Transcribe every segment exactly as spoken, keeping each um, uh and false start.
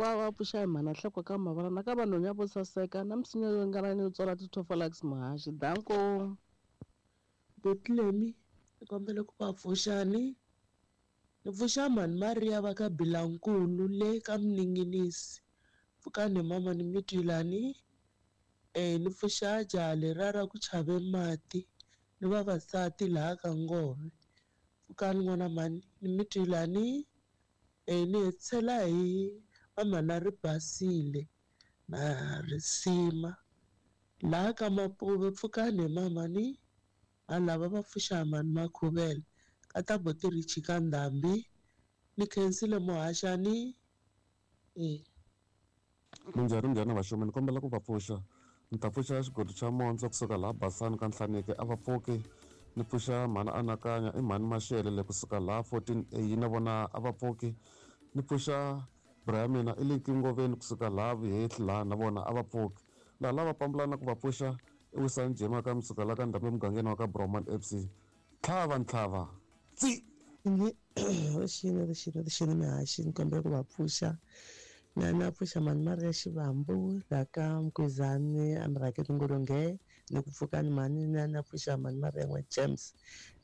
Hinkwavo va pfuxa hi mhana Nhloko ka Mavalana ka vanhu vo saseka na misinya yo ringana yo tswala ti-Tofalax muhaxi. Danko. Butlemi ni kombela ku va pfuxani ni pfuxa mhani Maria va ka Bilankulu le ka Mninginisi pfukani mama ni mi twilani eh ni pfuxa jaha leriya ra ku chave mati ni vavasati laha ka Ngove pfukani n'wana mhani ni mi twilani eh ni hetisela hi vamhana ri basile na risima laha ka Mapuve pfukani mama ni lava va pfuxa mhani Makhuvele ka ta buti Richi ka Ndhambi ni khensile muhaxani eh Minjhani minjhani vaxumi ni kombela ku va pfuxa ni ta pfuxa xigodi xa Mondzo kusuka laha Basani ka Nhlaneke a va pfuki ni pfuxa mhani Anakanya i mhani Mashele le kusuka laha fourteen A na vona a va pfuki ni pfuxa bra ya mina i le Ngoveni kusuka laha Vuhehli laha na vona a va pfuki laha lava pambulana ku va pfuxa i Wisani Jema ka Msuka la ka Ndhambi emugangeni wa ka Broman F C tlhava ntlhava tsi rixini rixini rixini mihaxi ni kombela ku va pfuxa na na pfuxa mhani Maria Xivambu laha ka Mkwizani a Murhangeri Ngolonge ni ku pfukani mhani na na pfuxa mhani Maria n'wa James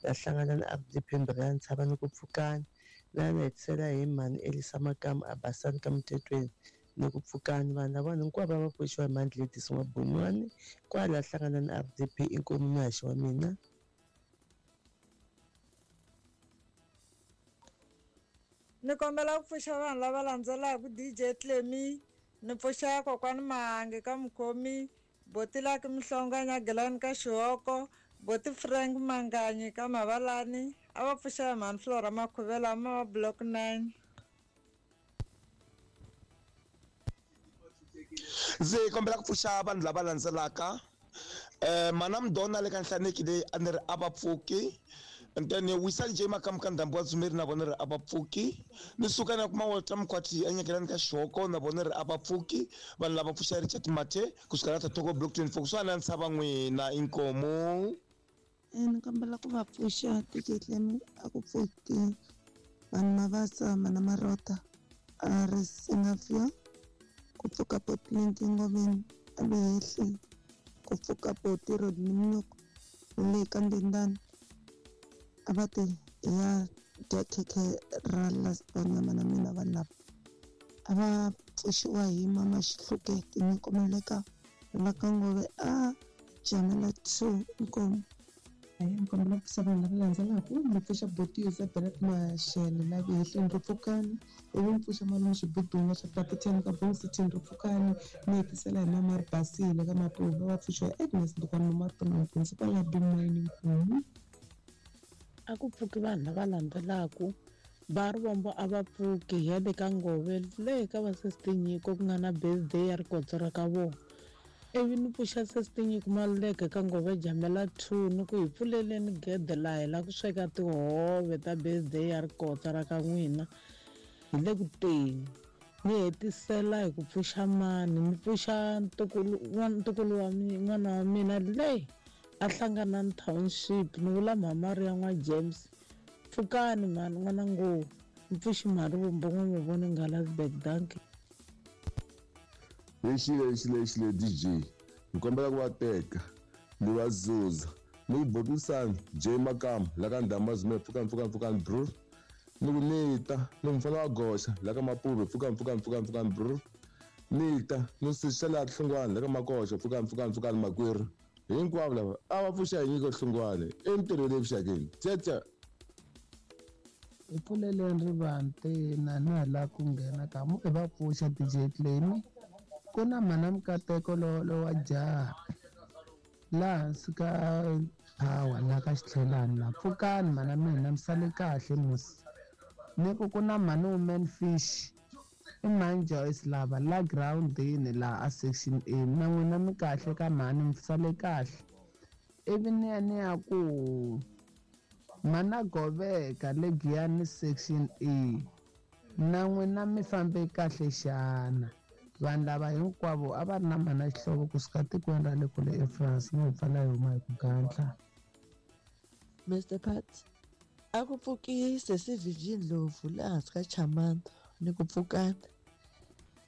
la hlangana na R D P Mbirhi Ntshava ni ku pfukani na na hetisela hi mhani Elisa Makamu a Basani ka Mutetweni ni ku pfukani vanhu lava hinkwavo va pfuxiwa hi mhani Gladys N'wabunwani kwala hlangana na R D P inkomu muhaxi wa mina. Ni kombela ku pfuxa vanhu lava landzelaka D J Clemi ni pfuxa kokwani Mahangi ka Mukhomi boti Laki Mhlonga Nyagelani ka Xihoko boti Frank Manganyi ka Mavalani a va pfuxa mhani Flora Makhuvela ma block nine. Ndzi kombela ku pfuxa vanhu lava landzelaka eh mana Mdona le ka Nhlaneki leyi a ni ri a va pfuki and then Wisani J Makamu ka Ndhambi wa Dzumeri na vona ri a va pfuki ni suka na kuma Walter Mkhwati a Nyakelani ka Xihoko na vona ri a va pfuki vanhu lava pfuxa Richard Mathe kusuka la Tatoko block twenty-four kusuka na Ntshava n'wina inkomu. Ni kombela ku va pfuxa D J Clemi a ku pfuki vanhu Mavasa mana Marota a ri Singafia ku pfuka Potlinki Ngoveni a Vehehli ku pfuka Poti Rodney Mnyoko le ka Ndendani a va ti ya dya khekhe ra last born ya mana mina vanhu lava a va pfuxiwa hi mama Xihluke tinyikomela la ka Ngove a Jamela two inkomu. Ni kombela ku pfuxa vanhu lava landzelaka ni pfuxa boti Isabella Mashele la Vehehleni ri pfukani ivi ni pfuxa malume Xibudunga xa Platiteni ka Bong City ri pfukani ni hetisela hi mama ri basile ka Mapuve va pfuxiwa hi Agnes Ndukwana Martin principal ya Bimani Nkomu. A ku pfuki vanhu lava landzelaka va ri vombo a va pfuki hi le ka Ngove le ka va Sesi Nyiko ku nga na birthday ya rikotso ra ka vona ivi ni pfuxa Sesi Nyiko Maluleke ka Ngove Jamela two ni ku hi pfuleleni gede laha hi lava ku sweka tihove ta birthday ya rikotsa ra ka n'wina hi le ku teni ni hetisela hi ku pfuxa mani ni pfuxa ntukulu ntukulu wa n'wana wa mina le a hlangana na township ni vula Mhamaria n'wa James pfukani mhani n'wana ngo ni pfuxi mhani Vumbo n'wa Mavoni Ngalasburg dankie. Lexi lexi lexi le D J ni kombela ku va teka ni va zuza ni ku botisani J Makamu la ka Ndhambi Zume pfukani pfukani pfukani bro ni ku nita ni mfana wa goxa la ka Mapuve pfukani pfukani pfukani pfukani bro nita ni sisa la Hlungwane la ka Makoxa pfukani pfukani pfukani makwerhu hinkwavo lava a va pfuxa hi nyiko Hlungwane entirhweni evuxakeni tsetsa. Hi pfuleleni rivanti na na la ku nghena ka mu i va pfuxa D J Clemi ku na mhana Mukateko lo lo wa jaha laha hansi ka power la ka Xitlhelani la pfukani mhana mina mi sale kahle musi ni ku ku na mhani Woman Fish i mhani Joyce lava la groundini laha a section A na n'wina mi kahle ka mhani mi sale kahle ivi ni ya ni ya ku mana Goveka le Giyani section A na n'wina mi fambe kahle xana vanhu lava hinkwavo a va ri na mhana Xihlovo kusuka tikweni ra le kule eFrance ni hi pfala hi huma hi ku gandla. Mister Pat a ku pfuki Sesi Virgin Ndlovu laha hansi ka Chamanda ni ku pfukani